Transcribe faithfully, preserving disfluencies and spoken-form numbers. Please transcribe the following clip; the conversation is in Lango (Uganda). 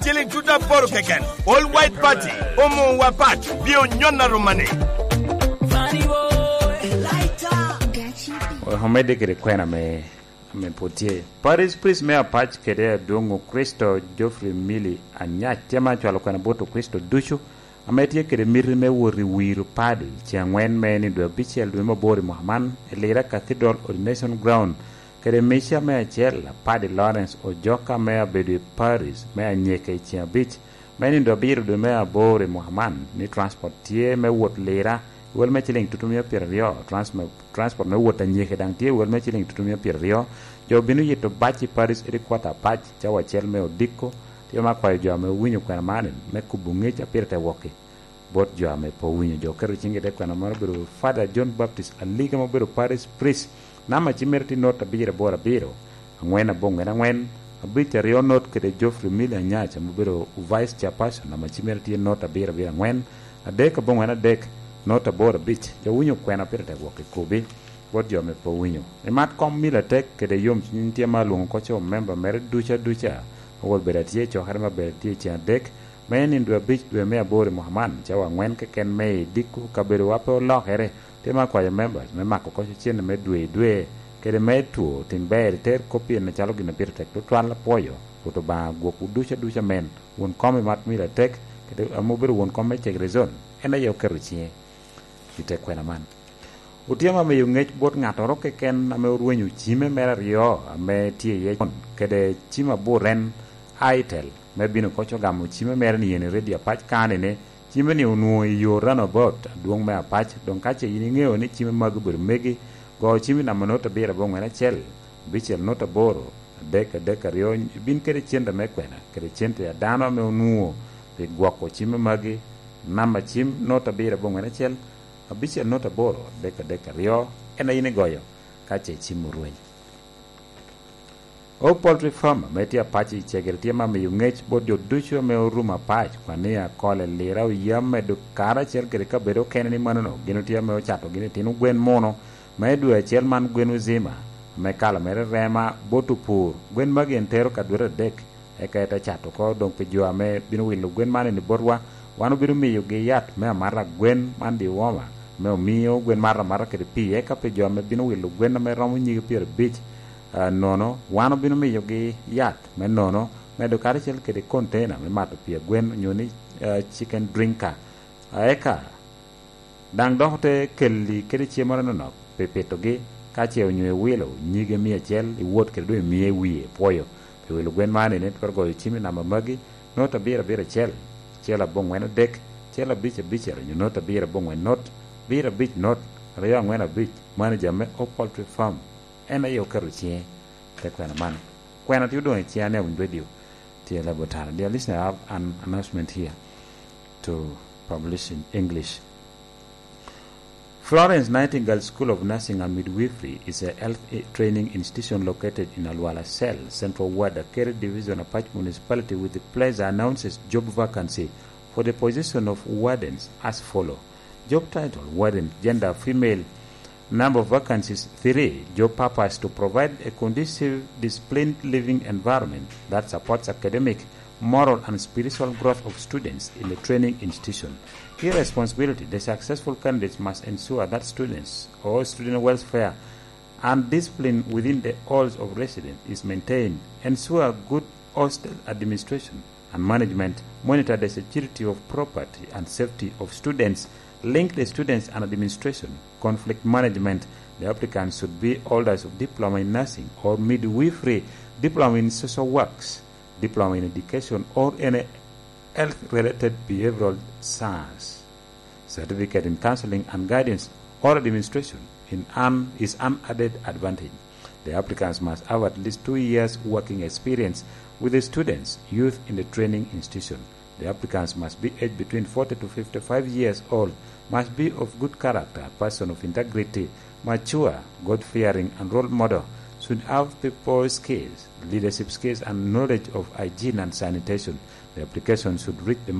Ciliŋ tuta aboro keken. All White Party omuwa pac pi onyon aruma-ni. Omedde kede kwena me, ame pwod tye. Parish Priest me Apac kede Adwoŋ Okricito Geoffrey Milly Anyac tye ma cwalo kwena bot Okricito ducu ame tye kede miti me wot i wiro padi ceŋ aŋwen me nindo abicel dwe me aboro i mwaka man i Lira Cathedral Ordination Ground, kede Mica me acel, Padi Lawrence Ojoka me abedo i Paris me anyeke i ceŋ abic me nindo abiro dwe me aboro i mwaka man, ni transport tye me wot Lira i wel me ciliŋ tutumia pyeraryo, transme-, transport me wot anyeke daŋ tye i wel me ciliŋ tutumia pyeraryo. Jo obino yito bac i Paris headquarter Apac, cawa acel me odiko. Tye ma akwayo jo ame owinyo kwena man me kubo ŋec a pire te wokki. Bot jo ame pe owinyo, jo oketo ciŋgi i te kwena moro obedo Father John Baptist Aliga ma obedo Parish Priest, namba cim mere tye not abiro aboro abiro, aŋwen aboŋwen aŋwen, abic aryo not kede Geoffrey Mili Anyac ame obedo Vice Chairperson, namba cim mere tye not abiro abiro aŋwen, adek aboŋwen adek, not aboro abic. Jo owinyo kwena pire tek wok i kubi, bot jo ame pe owinyo. Imat kom Mili atek kede yom cwiny tye ma alwoŋo oko co memba mere duca duca, owot bedo atye i cokere ma bedo atye i ceŋ adek, me nindo abic dwe me aboro i mwaka man, cawa aŋwen keken me i diko kabedowa pe olokere. Tye me akwayo members me mako koc ocenne me dwe i dwe, kede me two tin ber iter kop pien acalo gin a pire tek tutwal. Apwoyo Rwot Obaŋa gwokwu ducu aduca men. Won kom i mat mil atek, kede ame obedo won kom me Cegre Zone, en aye oketo ciŋe i te kwena man. Otyema miyo ŋec bot ŋattoro keken ame orwenyo cime mere aryo ame tye iye con, kede cim aburen Aitel, me bino koc ogamo cime mere ni yen i redio Apac kane ni cime ni onwoŋo i yo runabout adwoŋ me Apac. Doŋ ka ce yin iŋeo ni cime magi obedo megi, go cimi namba not abiro aboŋwen acel, abicel not aboro, adek adek aryo, ibin kede cente me kwena, kede cente a dano ame onwoŋo pi gwoko cime magi, namba cim not abiro aboŋwen acel, abicel not aboro, adek adek aryo, en a yin igoyo ka ce cim orweny. O Poultry Farm ame tye Apac i Cegere tye ma miyo ŋec bot jo ducu ame orumo Apac, Kwania, Kole, Lira, Oyam, medo karacel kede kabedo okene ni manono gin otye ame ocato gin itino gwen muno me dwe acel man, gwen uzima ame kala mere rema bot opur. Gwen magi en tero ka dwete adek, eka ete cato oko. Doŋ pi jo ame bino wilo gwen man eni botwa, wan obino miyogi yat me amata gwen man, dewormer, ame omio gwen mato amata kede pii. Eka pi jo ame bino wilo gwen ame romo nyige pyerabic, ah, nono, wan obino miyogi yat me nono, medo karacel kede container me mato pii a gwen onyo ni, ah, chicken drinker. Ah, eka daŋ dok ote kelli kede cem moro anonok pi pitogi, ka ce onyo iwilo nyige mia acel, iwot kede doŋ imiye i wie. Pwoyo pi wilo gwen man ene, twero goyo cim i namba magi: not abiro abiro acel, acel aboŋwen adek, acel abic abicel, onyo not abiro aboŋwen not, abiro abic not, aryo aŋwen abic. Manager me O Poultry Farm en aye oketo ciŋe te kwena man. Kwena tye odoŋ i ciŋa ni awiny radio. Dear Laboratory. Dear listener, I have an announcement here to publish in English. Florence Nightingale School of Nursing and Midwifery is a health i-, training institution located in Alwala Cell, Central Ward, Akeri Division, Apac Municipality, with the pleasure announces job vacancy for the position of wardens as follow. Job title: Warden. Gender: female. Number of vacancies: three. Job purpose: to provide a conducive, disciplined living environment that supports academic, moral, and spiritual growth of students in the training institution. Key responsibility: the successful candidates must ensure that students or student welfare and discipline within the halls of residence is maintained, ensure good hostel administration and management, monitor the security of property and safety of students, link the students and administration, conflict management. The applicants should be holders of diploma in nursing or midwifery, diploma in social works, diploma in education, or any health-related behavioral science. Certificate in counseling and guidance or administration in an, is an added advantage. The applicants must have at least two years working experience with the students, youth in the training institution. The applicants must be aged between forty to fifty-five years old, must be of good character, person of integrity, mature, God-fearing, and role model, should have people skills, leadership skills, and knowledge of hygiene and sanitation. The application should reach the